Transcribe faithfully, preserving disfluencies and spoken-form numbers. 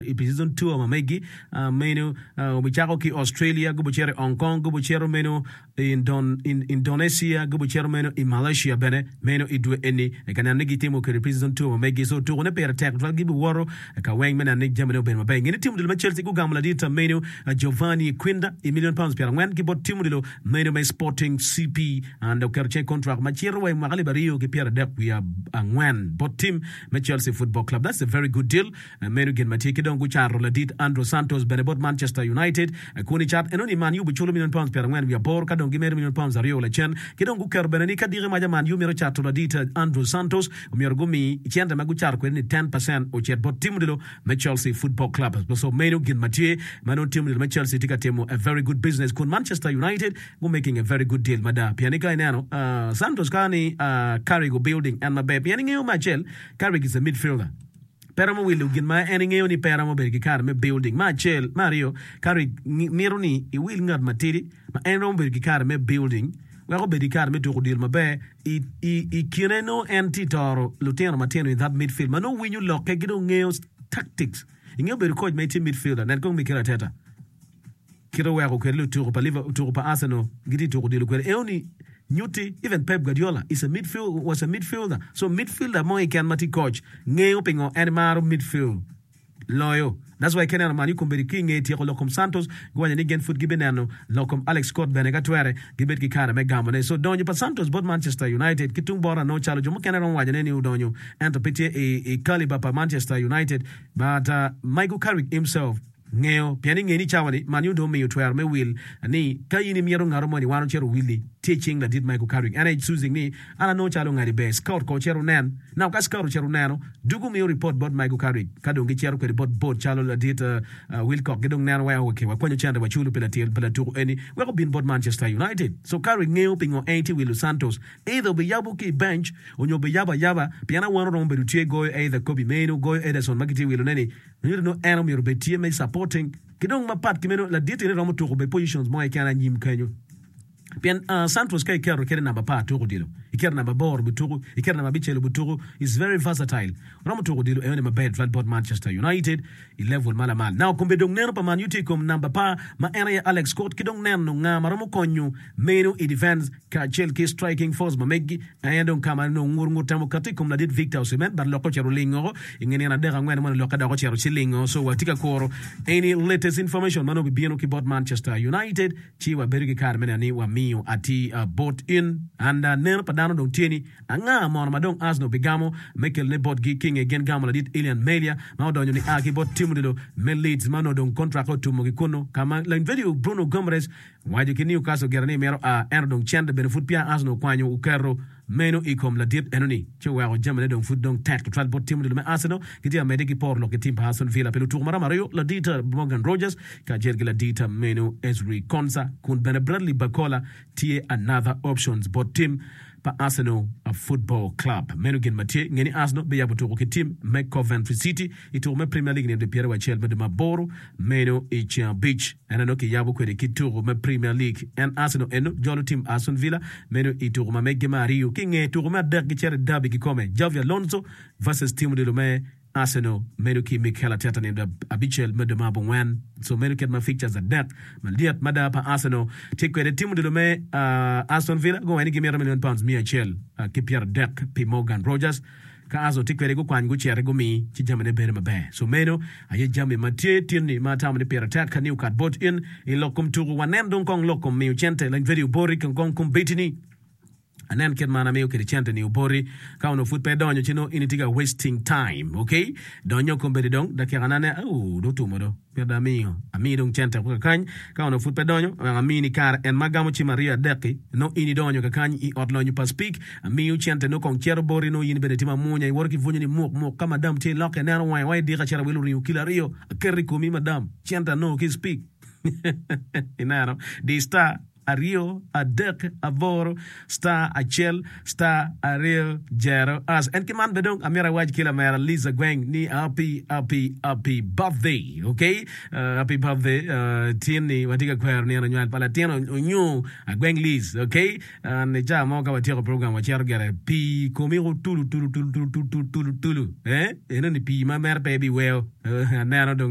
I pre-season tour ma megi meno obicako ki Australia, gubicito i Hong Kong, gubicito meno i Indonesia, gubicito meno i Malaysia bene meno i dwe eni ka neno ni gitimo kwede pre-season tour ma megi. So tukone pire tek tutwal, gibiwoto ka weng me neno ni jamine obedo maber. Nge ni tim odilo me Chelsea gugamo ladit meno Giovanni Quinda i million pounds pyerangwen ki bot tim odilo meno me Sporting C P and oketo cen contract ma cito wa i mwaka alip aryo ki pyeradek wiye angwen bot tim me Chelsea Football Club. That's a very good deal. Meno gin ma tye ki dong gucato ladit Andrew Santos bene bot Manchester United. Kun i cat enoni Man U biculo million pounds pyerangwen wiye aboro ka dong gimedo million pounds aryo lacen. Ki dong guketo bene ni ka diki maca Man U mito cato ladit Andrew Santos, omyero gumi cente ma gucato kwede ni ten percent ocit bot tim odilo me Chelsea Football Club. So meno gin ma tye ma nongo tim odilo me Chelsea tye ka timo a very good business, kun Manchester United gu making a very good deal mada, pien ni ka ineno uh, Santos ka ni uh, Carrick building en maber, pien ingeyo me acel, Carrick is a midfielder, pe romo wilo gin ma en ingeyo ni pe romo bedo ki kare me building. Me acel, me aryo, Carrick mito ni iwil ngat matidi ma en romo bedo ki kare me building wek obed ki kare me tuko deal maber i, i, i kine no en tye toro lutino matino in that midfield ma nongo winyo lokke ki dong ngeyo tactics. Ingeyo bedo coach ma itye midfielder, nen kong Mikel Arteta kite oweko kwede lutuko pa Liverpool, tuko pa Arsenal gitye tuko dilo kwede enoni nyutti. Even Pep Guardiola is a midfield was a midfielder, so midfielder mo keken ma tye coach ngeyo pingo en maro midfield loyo. That's why keneno Man U kombeddi ki inge tyeko lok kom Santos, guwaco ni gin pud gibineno lok kom Alex Scott bene ka twere gibed ki kare me gamone. So donyo pa Santos bot Manchester United ki tung bota no calo jo mukene romo wacone ni odonyo ento pe tye i, i caliber pa Manchester United, but uh, Michael Carrick himself ngeyo, pien inge ni cawa ni Man U dong omiyo twero me wil ni ka in imito ngato moni wan ocito willi tye cing ladit Michael Carrick. En aye choosing ni an anongo calo ngadi ber scout ko ocito nen. Now ka scout ocito neno dugo miyo report bot Michael Carrick, ka dong gicito kwede bot board calo ladit uh, uh, Wilcock gi dong neno wek okay, wakwanyo cente waculo pi latyel pi latuko eni wek obin bot Manchester United. So Carrick ngeyo pingo en tye wilo Santos, either obiyabo ki i bench onyo obiyabo ayaba, pien awano romo bedo tye goyo either Kobbie Mainoo, goyo Ederson ma gitye wilo neni nyuto no en omyero obed tye me supporting ki dong mapat ki meno ladit eni romo tuko be positions mo keken anyim kenyo, pien uh, Santos ka iketo kede namba apar tuko dilo, iketo namba aboro bituko, iketo namba abicel bituko, is very versatile, romo tuko dilo enoni maber tutwal bot Manchester United i level ma lamal. Now kombe dong neno pa Man U tye i kom namba apar ma en aye Alex Scott, ki dong neno nga ma romo konyo meno i defense kacel ki striking force ma megi en dong kama nongo ngur ngur temo kati i kom ladit Victor Osimhen, but lokke ocito lingo i nge nino adek angwen mo lokke dok ocito ci lingo. So watye ka kuro any latest information ma nongo bibino ki bot Manchester United, ci wabedo ki kare me neno ni wamiyo ati uh, bot in and uh, neno pa dano dong tye ni anga mono ma dong Arsenal bigamo me kelone botgi ki nge gin gamo ladit Illan Meslier ma odonyo ni a ki bot tim odilo me Leeds ma onongo dong contract otumo ki kuno kama Lainvedio Bruno Guimaraes waco ki Newcastle gire ni mito a ento dong cente bene pud pia Arsenal okwanyo oketo meno i kom ladit enoni ci oweko jamine dong pud dong tek tutwal bot tim odilo me Arsenal. Gitye amedde ki poro lok ki tim pa Aston Villa pi lutuko maromo aryo, ladit Morgan Rogers kacel ki ladit meno Ezri Konsa, kun bene Bradley Barcola tye another options bot tim pa Arsenal Football Club. Meno gin ma tye. Nge ni Arsenal biyabo tuko ki tim me Coventry City i tuko me Premier League nino pyeraryo acel me dwe aboro meno i ceng abic. En eno kiyabo kwede ki tuko me Premier League. En Arsenal eno jolo tim Aston Villa meno i tuko ma meggi me aryo. Ki nge tuko me adek gicito i derby kikome, Xabi Alonso versus tim odilo me Arsenal meno ki Mikel Arteta nino abicel me dwe abongwen. So meno kit ma fixtures adek malyet mada pa Arsenal tye kwede. Tim odilo me uh, Aston Villa guwaco ni gimito million pounds miya acel uh, ki pyeradek pi Morgan Rogers. Ka Arsenal tye kwede gukwany guciti gumi ci jamine bedo maber. So meno aye jami ma tye tinni ma atamo ni pire tek ka ni okat bot in i lok kom tuko. Wanen dong kong lok kom miyo cente lany video boti kong kombeddi ni anen kit man amiyo kede cente ni oboti. Ka ono pud pe donyo ci no in itye ka wasting time. Okay, donyo kombeddi dong dakika nane au do tumo do pud amiyo amiyi dong cente ko kakany. Ka ono pud pe donyo wek amiyi ni kare en ma gamo cim aryo adek-ki no in idonyo kakany i ot lonyo pa Speak, amiyo cente no kong cito boti no in bene tye mamunya iwoto ki bwonyo ni muk muk ka madam tye lokke neno wange wa idika cito awilo ringo kilo aryo aketo i komi madam cente anongo ki Speak. Ineno di star aryo adek aboro star acel star aryo jero as en ki man be dong amito awac ki lamera Liza Gweng ni happy, happy, happy birthday. Okay, uh, happy birthday. uh, tin ni watye ka kwero nino nywal pa latin onyo Agweng Liz. Okay, uh, ni ca mo ka watyeko program wacito gere pii komi tulu tulu tulu tulu tulu tulu tulu eh eno ni pii ma mere pe biweo. uh, aneno dong.